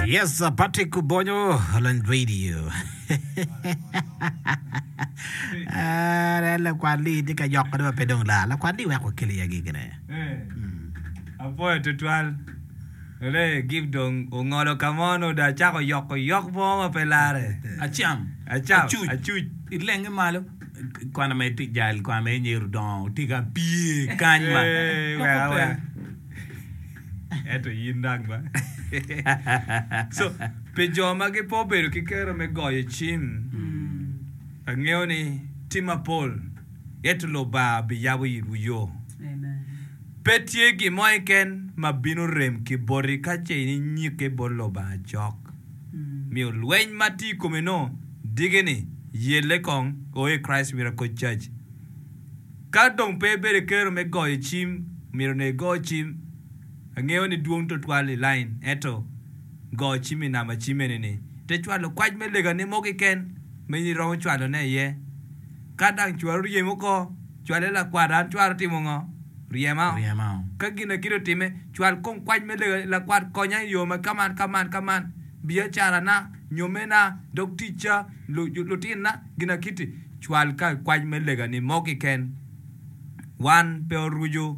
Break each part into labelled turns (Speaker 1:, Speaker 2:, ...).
Speaker 1: Yes, Patrick Obonyo, Holland Radio. Ah, lakwat li tye ka yoko ma pe dong lar. Lakwat li weko keli ya gigine.
Speaker 2: Apwoyo tutwal. Ole gib dong ongolo ka mo nongo dong acako yoko yok mo ma pe lare.
Speaker 3: Acam.
Speaker 2: Acam.
Speaker 3: Acuc.
Speaker 2: Acuc.
Speaker 3: Ilenge malo. Kwana ma itye jal kwana ma inyero dongo tye ka pye kany ma.
Speaker 2: Eh,
Speaker 3: Loko
Speaker 2: wek
Speaker 3: pe.
Speaker 2: awek. Ento in dang ba. So, pi jo ma gipe obedo ki kero me goyo cim, angeyo ni tye mapol, ento Lubanga biyabo itwu yo. Pe tye gin mo keken ma bino rem ki boti ka ce in inyikke bot Lubanga cok. Miyo lweny ma tye i komi-nu diki-ni, yelle kong o i Christ Miracle Church. Ka dong pe ibedo ki kero me goyo cim, myero onongo igo cim. Angeyo ni dwong tutwal i lain, ento go cim i namba cim eni-ni. Ite cwalo kwac me legani mo keken ma in iromo cwalone iye. Ka dang cwari oryem oko, cwale lakwat an cwara otimo ngo? Ryema.
Speaker 3: Ryema.
Speaker 2: Ka gin akit otimme, cwal kong kwac me lega ni, Lakwat, konya i yo ma kaman, kaman, kaman, biacarana, nyommena, dog ticca, lutinna, gin akit-ti. Cwal ka kwac me lega-ni mo keken. Wan pe oruco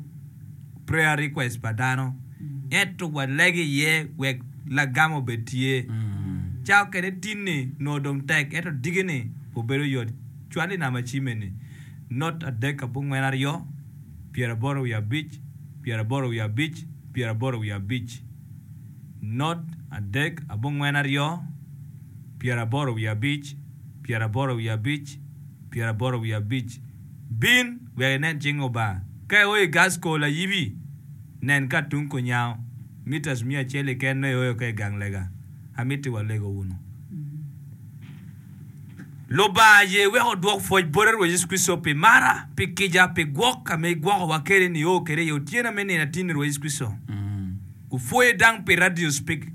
Speaker 2: prayer request pa dano, ento walego iye wek lagam obed tye. Ca okene tin-ni nongo dong tek, ento diki-ni obedo yot. Cwal i namba cim-mi ni, not adek abongwen aryo, pyeraboro wiye abic, pyeraboro wiye abic, pyeraboro wiye abic, not adek abongwen aryo, pyeraboro wiye abic, pyeraboro wiye abic, pyeraboro wiye abic. Bin wek inen cing Lubanga. Ka ioyo i Gasco layibi, nen ka tung kunyango, meters miya acel keken nongo ioyo ka i gang lega. Amiti walego wunu. Lubanga aye wek odwok pwoc bote Rwot Yecu Kricito pi mara, pi kica, pi gwok ka ma igwokowa kwede nio kwede i otyeno me nino atinni Rwot Yecu Kricito. Opwoye dang pi radio speak,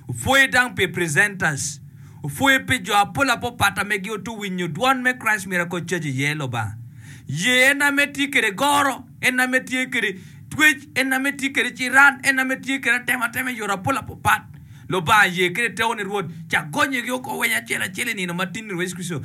Speaker 2: opwoye dang pi presenters, opwoye pi jo apol apopat ame gi oto winyo dwon me Christ Miracle Church iye Lubanga. Ye en ame tye kwede goro, en ame tye kwede twec, en ame tye kwede ciran, en ame tye kwede atematema i yore apol apopat. Lubanga ye kede tekoni Rwot, cak gonyogi oko weny acel acel i nino matin-ni Rwot Yecu Kricito.